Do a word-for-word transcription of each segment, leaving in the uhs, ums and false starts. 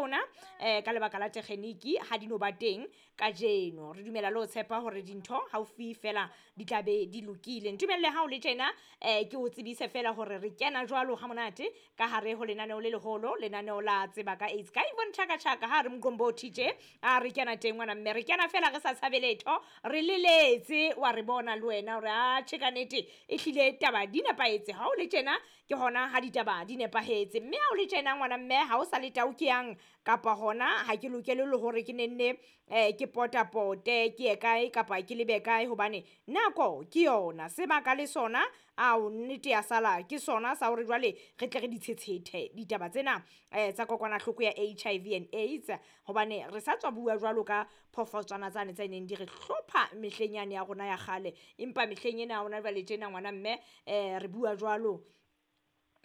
rona eh ka lebaka la tekgeniki ha di no ba teng kajeno. Re dumela le ho tshepa hore dintho haufi fela di tla be di lokile. Ntumelle ha o le tjena eh ke o tsebise fela hore re kena jwalo ha monate ka hare ho lenaneo le leholo, lenaneo la Tseba ka AIDS. Ka Yvonne Chaka Chaka ha re Mqombothi tje a re kena teng ngwana mme re kena fela re sa tshabe letho, re leletse wa re bona le wena hore a tjhe ka nnete e hlile taba di nepahetse. Ha o le tjena ke hona ha ditaba di nepahetse, mme ha o le tjena ngwana mme ha o sa le tau ke yang kapa hona ha ke lokele le hore ke nenne eh ke potapote ke ye kae kapa ke lebe kae, hobane nako ke yona sebaka le sona ao nnete ya sala ke sona sa hore jwale re tle re di tshetshete ditaba tsena eh tsa kokwanahloko ya H I V and AIDS, hobane re sa tswa bua jwalo ka phofotswana tsane tse neng di re hlopha mehleng yane ya rona ya kgale, empa mehleng ena ya rona jwale tjena ngwana mme eh re bua jwalo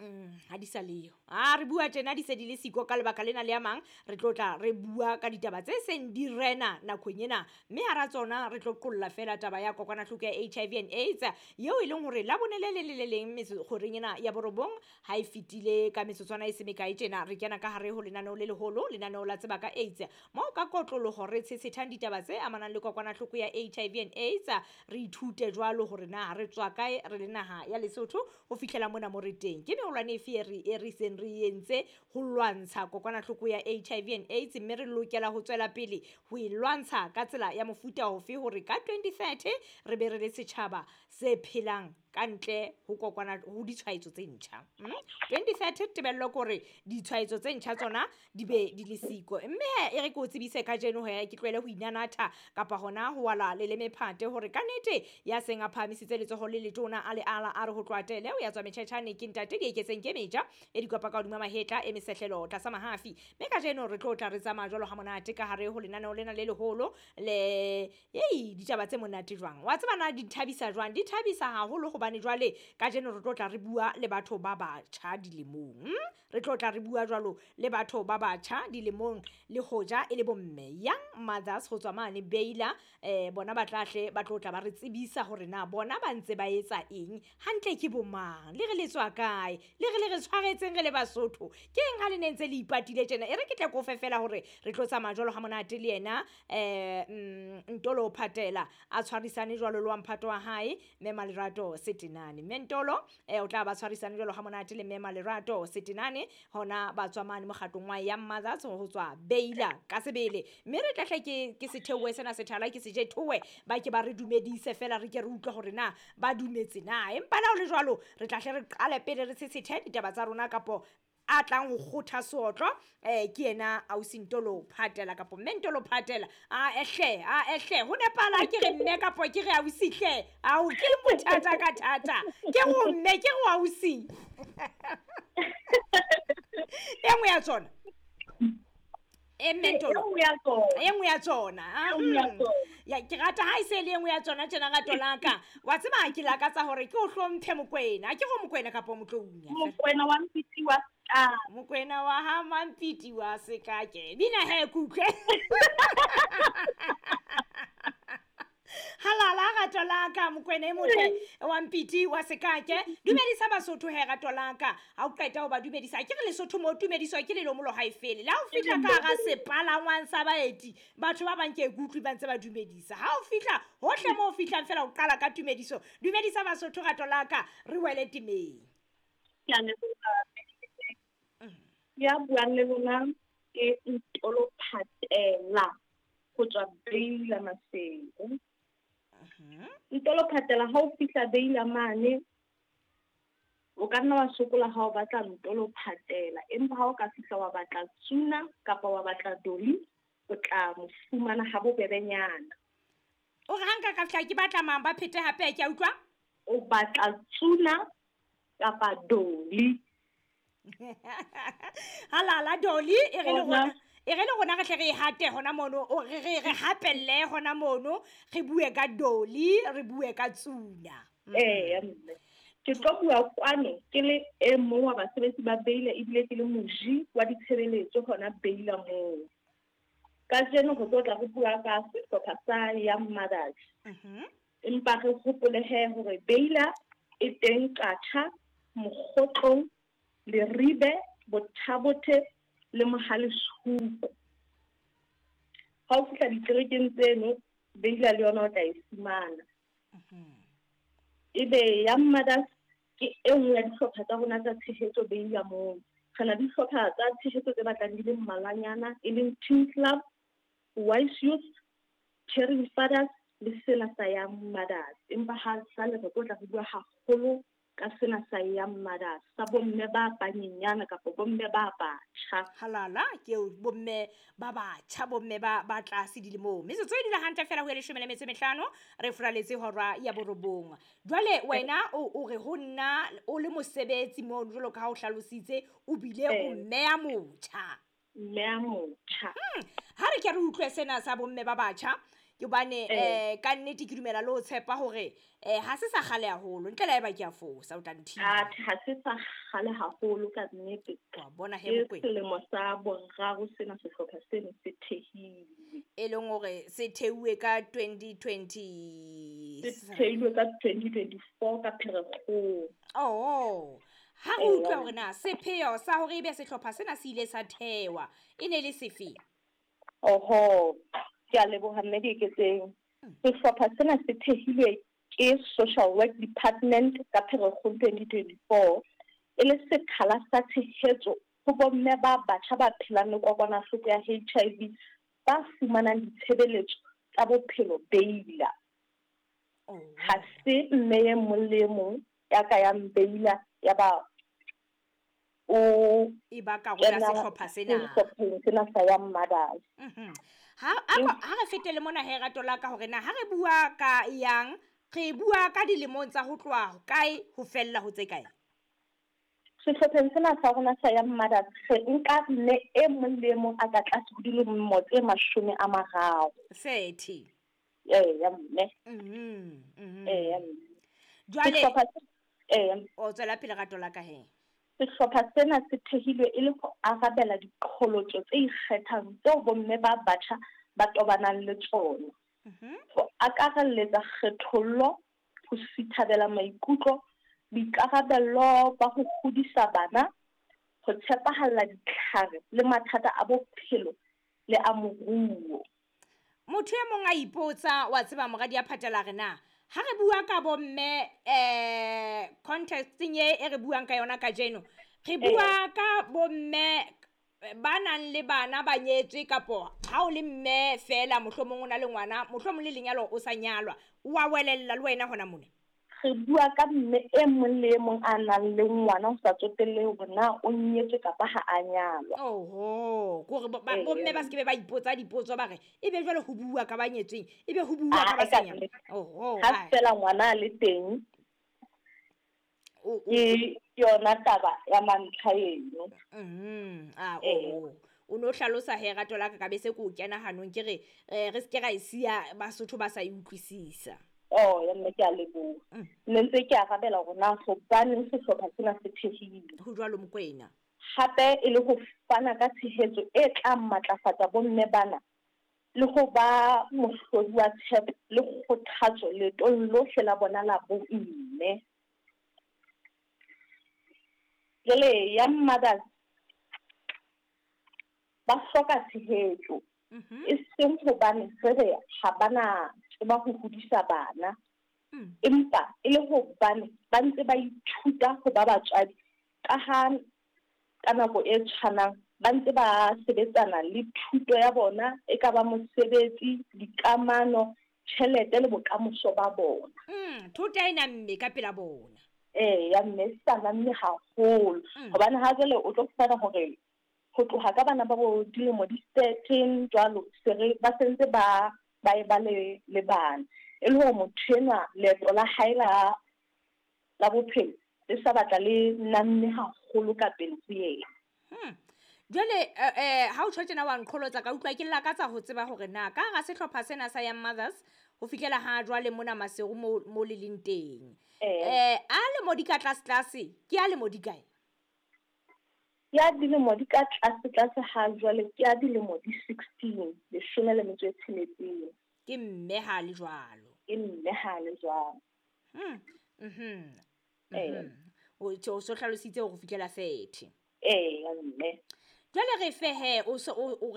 Mm, ha di sa leyo. A re bua tjena di se di le siko ka lebaka lena le a mang, re tlo tla re bua ka ditaba tse seng di rena nakong ena, mme hara tsona re tlo qolla fela taba ya kokwanahloko ya H I V and AIDS eo e leng hore la bone le le le le leng kgoreng ena ya borobong ha e fetile ka metsotswana e se mekae tjena re kena ka hare ho lenaneo le leholo, lenaneo la Tseba ka AIDS, moo ka kotloloho re tshetshethang ditaba tse amanang le kokwanahloko ya H I V and AIDS. Re ithute jwalo hore na re tswa kae re le naha ya Lesotho ho fihlela mona mo re teng. Ke meholwane efe e re, e re seng re entse ho lwantsha kokwanahloko ya H I V and AIDS, mme re lokela ho tswela pele ho e lwantsha ka tsela ya mofuta ofe hore ka twenty thirty re be re le setjhaba se phelang ka ntle ho kokwana ho ditshwaetso tse ntjha. Mm? twenty thirty tebello ke hore ditshwaetso tse ntjha tsona di be di le siko. Mme he, e re ke o tsebise kajeno he, ke tlohele ho inanatha kapa hona ho wala leleme phate hore ka nnete ya seng a phahamisitse letsoho le letona a le ala a re ho tloha tele o ya tswa metjhetjhane ke ntate di eketseng ke meja e dikopa ka hodima mahetla e mesehlelo tlasa mahafi. Mme kajeno re tlo tla re tsamaya jwalo ha monate ka hare ho lenaneo lena le leholo le ei ditaba tse monate jwang. Wa tseba na di thabisa jwang? Di thabisa haholo hobane jwale kajeno re tlo tla re bua le batho ba batjha dilemong. Re tlo tla re bua jwalo le batho ba batjha dilemong le hoja e le bomme young mothers ho tswa mane Beila, eh bona ba tla hle ba tlo tla ba re tsebisa hore na bona ba ntse ba etsa eng hantle, ke bomang, le re le tswa kae, le re le re tshwaretseng re le Basotho ke eng ha le ne ntse le ipatile tjena. E re ke tle ko fe fela hore re tlo tsamaya jwalo ha monate le yena eh Ntolo Phatela a tshwarisane jwalo le wa mphato wa hae Mme Malerato Setenane. Mme Ntolo eh o tla ba tshwarisane jwalo ha monate le Mme Malerato Setenane hona ba tswa mane mokgatlong wa Young Mothers ho tswa Beila ka sebele. Mme re tla hle ke ke setheowe sena sethala ke seje thowe ba ke ba re dumedise fela re ke re utlwe hore na ba dumetse na, empa la ho le jwalo re tla hle re qale pele re tshetshete ditaba tsa rona kapo a tlang ho kgotha seotlo eh ke yena ausi Ntolo Phatela kapo mme Ntolo Phatela. A ehle a ehle ho nepala ke re mme kapo ke re ausi hle ao ke bothata ka thata ke go mme ke go ausi e nngwe ya tsona e mme Ntolo e nngwe ya tsona ya ke rata ha e se le e nngwe ya tsona tjena rato la ka wa tseba ke lakatsa hore ke o hlomphe Mokwena, ke go Mokwena kapo Motlounya Mokwena wa Mpiti wa Mokwena wa ha Mampiti wa Sekake bina he kutlwe halala rato la ka Mokwena e motle wa Mpiti wa Sekake dumedisa Basotho he rato la ka ha o qeta ho ba dumedisa ke re Lesotho mo tumediswa ke lelomolo ha e fele la o fihla ka hara sepalangwang sa baeti batho ba bang ke kutlwe ba ntse ba dumedisa ha o fihla hohle mo o fihlang fela o qala ka tumediso dumedisa Basotho rato la ka re wele temeng. Ke a leboha. Ya buang le lona ke Ntolo Phatela ho tswa Beila Maseru. Ntolo Phatela ha o fihla Beila mane o ka nna wa sokola ha o batla Ntolo Phatela, empa ha o ka fihla wa batla Tsuna kapa wa batla Doli o tla mo fumana ha bobebenyana. O re ha nka ka fihla ke batla mang ba phete hape ke a utlwa? O batla Tsuna kapa Doli. Halala Doli e re le rona e re le rona re hle re hate hona mono o re re re hapelle hona mono re bue ka Doli re bue ka Tsuna. Eh mme ke tlo bua kwano ke le e mong wa basebetsi ba Beila ebile ke le moji wa ditshebeletso hona Beila moo. Kajeno go tlo tla go bua ka sehlopha sa Young Mothers. Mhm. Empa re hopole he hore Beila e teng Qacha, Mokgotlong, Leribe, Bothabothe, le Mohale's Hoek. Ha o fihla dikerekeng tseno, Beila le yona o tla e fumana. Ebe Young Mothers ke e nngwe ya dihlopha tsa rona tsa tshehetso Beila moo. Re na le dihlopha tsa tshehetso tse batlang di le mmalwanyana, e leng Teen Club, Wise Youth, Caring Fathers le sena sa Young Mothers. Empa ha jwale re tlo tla re bua haholo ka sena sa Young Mothers, sa bomme ba banyenyana kapa bomme ba batjha. Halala, ke eo bomme ba batjha, bomme ba ba tlase dilemong. Metsotso e dula hantle fela ho ya leshome le metso e mehlano, re furaletse hora ya borobong. Jwale wena o o re ho nna o le mosebetsi moo jwalo ka ha o hlalositse, o bile o Eh. mme ya motjha. Mme ya motjha. Hmm. Ha re ke re utlwe sena sa bomme ba batjha, ke hobane, Eh. eh, ka nnete ke dumela le ho tshepa hore, eh, ha se sa kgale haholo, ntle le haeba ke a fosa, o tla nthiba. Atjhe, ha se sa kgale haholo ka nnete. Wa bona he, Ke Mokwena. selemo sa boraro sena sehlopha seno se thehilwe. E leng hore se theuwe ka twenty twenty Se thehilwe ka twenty twenty-four ka Pherekgong. Oh, ha re Eh, utlwa hore na sepheo sa hore ebe sehlopha sena se ile sa thewa e ne le sefe? Oho, ke a leboha mme Dieketseng. Sehlopha sena se thehilwe ke Social Work Department ka Pherekgong twenty twenty-four, e le sekgala sa tshehetso ho bomme ba batjha ba phelang le kokwanahloko ya H I V ba fumanang ditshebeletso tsa bophelo Beila. Oh. Ha se mme e mong le e mong ya ka yang Beila ya ba o E ba karolo ya kena sehlopha sena. sehlopheng sena sa Young Mothers. Mhm. Ha, a ko, ha re fetele mona he rato la ka hore na ha re bua ka yang, re bua ka dilemong tsa ho tloha kae ho fella ho tse kae? Sehlopheng sena sa rona sa Young Mothers, re nka mme e mong le e mong a ka tlase ho dilemo tse mashome a mararo. Thirty. Eya, mme. Mhm, mhm. Eya, mme. Jwale Sehlopha se-, eya. O tswela pele rato la ka he. Sehlopha sena se thehilwe e le ho arabela diqholotso tse ikgethang tseo bomme ba batjha ba tobanang le tsona. Mhm. Ho akarelletsa kgethollo, ho sithabela maikutlo, boikarabello ba ho hodisa bana, ho tshepahalla ditlhare le mathata a bophelo le a moruo. Motho e mong a ipotsa, wa tseba moradi ya Phatela re na, ha re bua ka bomme, eh, contexteng e, e re buang ka yona kajeno, re bua ka bomme ba nang le bana ba nyetswe kapo ha o le mme fela mohlomong o na le ngwana, mohlomong le lenyalo o sa nyalwa, o a welella le wena hona mona? Re bua ka mme e mong le e mong a nang le ngwana ho sa tsotelle hore na o nyetswe kapa ha a nyalwa. Oho, ke hore bo-, ba-, Ee. bomme ba se ke be ba ipotsa dipotso ba re, ebe jwale ho bua ka ba nyetsweng, ebe ho bua ka Ah, ba sa ka nyalwang. nnete. Oho, Ha ai. fela ngwana a le teng, O, o, ke yona taba ya mantlha eno. Mhm, ah, Ee. oho. O no hlalosa he rato la ka, ka be se ke o kena hanong, ke re, eh, re se ke ra e siya Basotho ba sa e utlwisisa. Oh, ya mme ke a leboha. Mm. Ne ntse ke arabela hore na hobaneng sehlopha sena se thehilwe. Ho jwalo Mokwena. Hape e le ho fana ka tshehetso e tla matlafatsa bomme bana le ho ba mohlodi wa tshepo le kgothatso leetong lohle la bona la bomme. Jwale Young Mothers ba hloka tshehetso. Mhm. E seng hobane re re ha bana tseba ho hodisa bana. Mm. Empa e le hobane ba ntse ba ithuta ho ba batswadi ka ha ka nako e tshwanang ba ntse ba sebetsana le thuto ya bona, e ka ba mosebetsi, dikamano, tjhelete le bokamoso ba bona. Mm, thota e namme ka pela bona. Ee, ya mme e sa namme haholo. Mm. Hobane ha jwale o tlo fumana hore ho tloha ka bana ba bo dilemo di thirteen jwalo, se re ba sentse ba, ba e ba le, le bana. E le hore motho enwa leeto la hae la, la bophelo le sa batla le namme haholo ka pele ho yena. Hmm. Jwale, eh, eh, ha o tjho tjena wa nqholotsa, ka utlwa ke lakatsa ho tseba hore na ka hara sehlopha sena sa Young Mothers ho fihlela ha jwale mona Maseru mo, mo le leng teng. Eh. Eh, a lemo di ka tlase tlase, ke a lemo di kae? Ya dilemo di ka tlase tlase ha jwale ke ya dilemo di sixteen, leshome le metso e tsheletseng. Ke mme ha le jwalo. Ke mme ha le jwalo. Hmm. Mhm. Eh. Mhm. O tjho, o so hlalositse hore ho fihlela thirty. Eh, ya mme. Jwale re fehe o so o o re